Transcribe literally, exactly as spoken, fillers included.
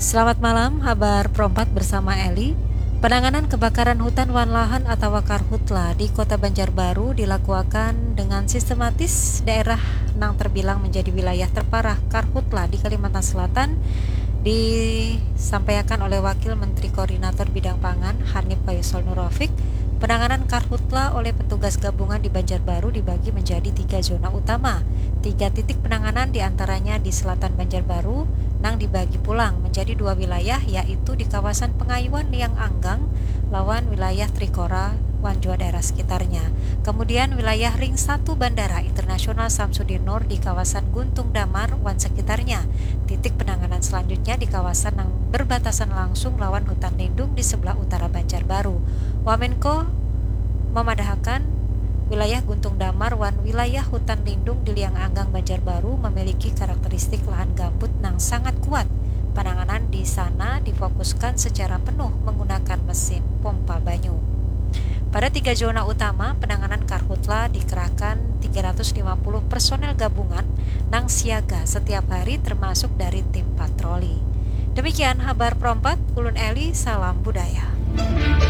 Selamat malam, habar Pro empat bersama Eli. Penanganan kebakaran hutan wan lahan atawa karhutla di Kota Banjarbaru dilakuakan dengan sistematis. Daerah nang terbilang menjadi wilayah terparah karhutla di Kalimantan Selatan disampaikan oleh Wakil Menteri Koordinator Bidang Pangan, Hanif Faisal Nurofik. Penanganan karhutla oleh petugas gabungan di Banjarbaru dibagi menjadi tiga zona utama. Tiga titik penanganan diantaranya di selatan Banjarbaru, nang dibagi pulang menjadi dua wilayah, yaitu di kawasan Pengayuan Liang Anggang lawan wilayah Trikora wan jua daerah sekitarnya. Kemudian wilayah Ring satu Bandara Internasional Samsudinur di kawasan Guntung Damar wan sekitarnya. Titik penanganan selanjutnya di kawasan yang berbatasan langsung lawan hutan lindung di sebelah utara Banjarbaru. Wamenko memadahakan wilayah Guntung Damar wan wilayah hutan lindung di Liang Anggang Banjarbaru memiliki karakteristik lahan gambut nang sangat kuat. Penanganan di sana difokuskan secara penuh menggunakan mesin pompa banyu. Pada tiga zona utama, penanganan karhutla dikerahkan tiga ratus lima puluh personel gabungan nang siaga setiap hari termasuk dari tim patroli. Demikian habar Pro empat, ulun Eli, salam budaya.